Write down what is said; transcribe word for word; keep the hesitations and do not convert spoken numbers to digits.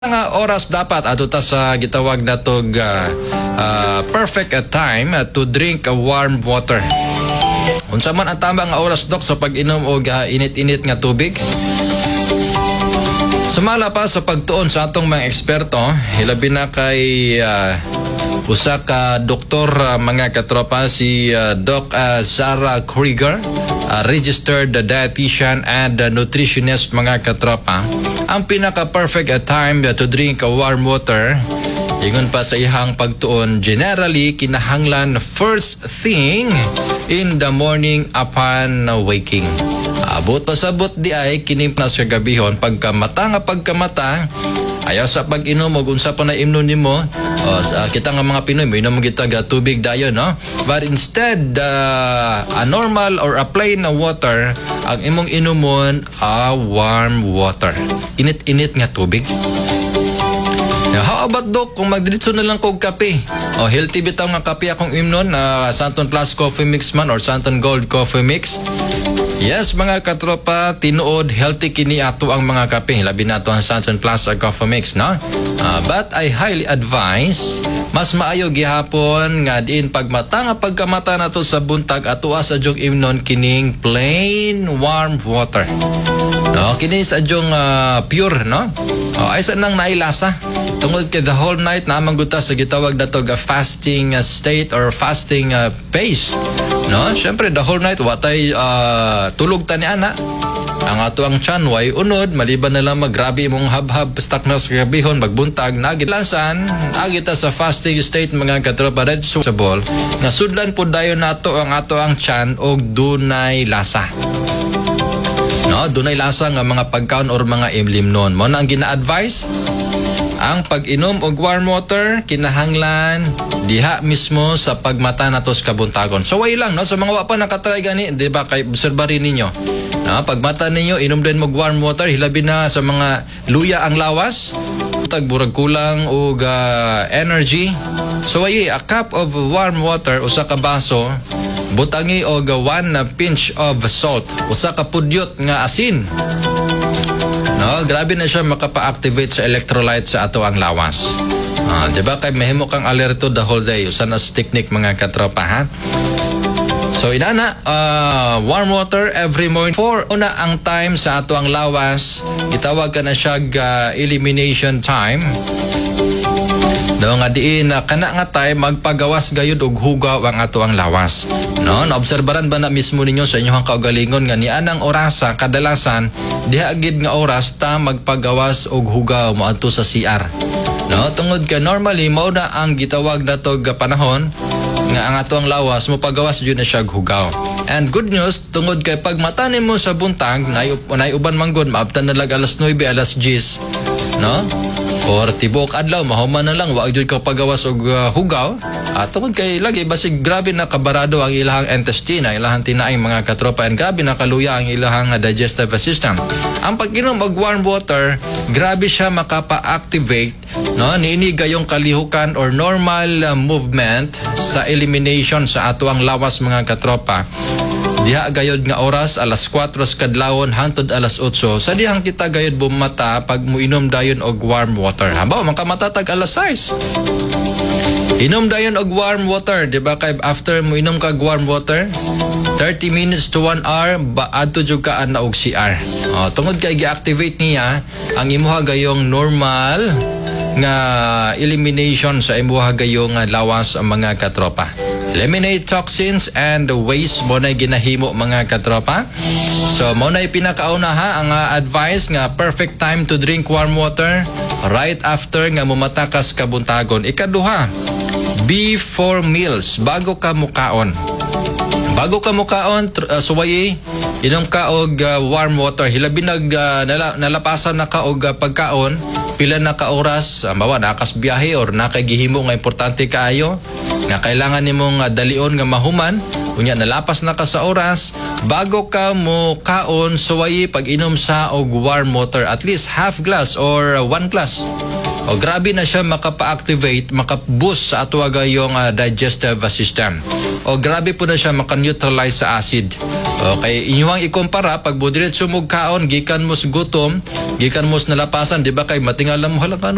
Nga oras dapat adto ta sa gitawag natog uh, uh, perfect uh, time uh, to drink a warm water. Unsa man ang tama nga oras, Dok, sa pag-inom og uh, init-init nga tubig? Sumala pa sa pagtuon sa atong mga eksperto, hilabi na kay uh, usa ka doktor, uh, mga katropa, si uh, Doc uh, Sarah Krieger, uh, registered dietitian and uh, nutritionist, mga katropa. Ang pinaka-perfect uh, time to drink a warm water, ingon pa sa ihang pagtuon, generally kinahanglan first thing in the morning upon waking. Abot pasabot di ay kining na sa gabihon, pagkamata nga pagkamata, ayaw sa pag-inom og unsa pa na imnon nimo. O, sa, kita nga mga Pinoy, moinom kita ga tubig dayon, no? But instead uh, a normal or a plain na water ang imong inumon, a warm water, init-init nga tubig. Yeah, how about, Doc, kung magdiretso na lang kog kape? O healthy bitaw nga kape akong imnon na uh, Santon Plus Coffee Mix man or Santon Gold Coffee Mix. Yes, mga katropa, tinuod healthy kini ato ang mga kape. Labi na ato ang Santon Plus Coffee Mix, no? Uh, but I highly advise, mas maayo gihapon nga diin pagmata nga pagkamata nato sa buntag, ato sa dyong imnon kining plain warm water. No, kini sa dyong uh, pure, no? Oh, ay sa nang nailasa. Tungod kay the whole night naa man gud ta sa gitawag nato ga fasting uh, state or fasting uh, phase. No? Syempre the whole night watay uh, tulog ta ni ana. Ang ato ang tiyan way unod maliban na lang maggrabe imong habhab stuck na sa gabihon magbuntag nagilasan nagita sa fasting state, mga katropa, red sa ball nga sudlan po dayon nato ang ato ang tiyan og dunay lasa. No, dunay lasa nga mga pagkaon or mga imlimnon. Mo na ang gina-advise, ang pag-inom og warm water kinahanglan diha mismo sa pagmata nato sa kabuntagon. So way lang, no, sa mga wa pa nakatry gani, di ba, kay obserba rin ninyo. No, pagmata ninyo, inom din og warm water, hilabi na sa mga luya ang lawas, tag burag kulang og ah, energy. So ay a cup of warm water, usa ka baso, butangi og one pinch of salt, usa ka pudyot nga asin. No, grabe na siya makapa-activate sa electrolyte sa ato ang lawas. Ah, di ba kay mahimo kang alerto the whole day? Usa na sa technique, mga katropa, ha. So inana, uh, warm water every morning. For una ang time sa ato ang lawas, gitawag ka na siya uh, elimination time. No, nga diin na kana nga time magpagawas gayud og hugaw ang ato ang lawas. No, naobserbaran ba na mismo ninyo sa inyong kaugalingon nga nianang orasa kadalasan diha gid nga oras ta magpagawas og hugaw moadto sa C R? No, tungod kay normally mao na ang gitawag nato ga panahon nga ang ato ang lawas mopagawas jud na siya og hugaw. And good news, tungod kay pag mata nimo sa buntag, nay nay uban manggod maabtan na lag alas nuwebe, alas diyes, no? Or tibuok adlaw mahuman na lang wa jud ka pagawas og uh, hugaw. Ah, tungod kay lagi basig grabe na kabarado ang ilahang intestine, ang ilahang tinaing, mga katropa, and grabe na kaluya ang ilahang uh, digestive system. Ang pag-inom og warm water, grabe siya makapa-activate, no, niini gayong kalihukan or normal uh, movement sa elimination sa ato ang lawas, mga katropa. Diha gayod nga oras, alas kuwatro sa kadlawon hangtod alas otso, sa dihang kita gayod bumata pag muinom dayon og warm water. Habaw makamatag alas sais. Inom dayon og warm water, di ba, kay after mo inom kag warm water, thirty minutes to one hour ba adto jud ka ana og C R. Oh, tungod kay gi-activate niya ang imuha gayong normal nga elimination sa imuha gayong lawas ang mga katropa. Eliminate toxins and waste mo na ginahimo, mga katropa. So mo na pinakauna ha ang uh, advice nga perfect time to drink warm water, right after nga mumatakas kabuntagon. Ikaduha, before meals, bago ka mukaon. Bago ka mukaon, tr- uh, suwayi, inom ka og uh, warm water. Hilabi nag uh, nala, nalapasan na ka og uh, pagkaon, pila na ka oras, uh, mawa nakas biyahe or nakay gihimo nga importante kaayo, nga kailangan nimong uh, dalion nga mahuman, Unya nalapas na ka sa oras, bago ka mo kaon, suwayi pag-inom sa og warm water, at least half glass or uh, one glass. O grabe na siya makapa-activate, maka-boost sa ato gayong uh, digestive system. O grabe po na siya maka-neutralize sa acid. Okay, inyong ikumpara pag budiretso mo kaon gikan mo sa gutom, gikan mo sa nalapasan, di ba, kay matingala mo, hala, ano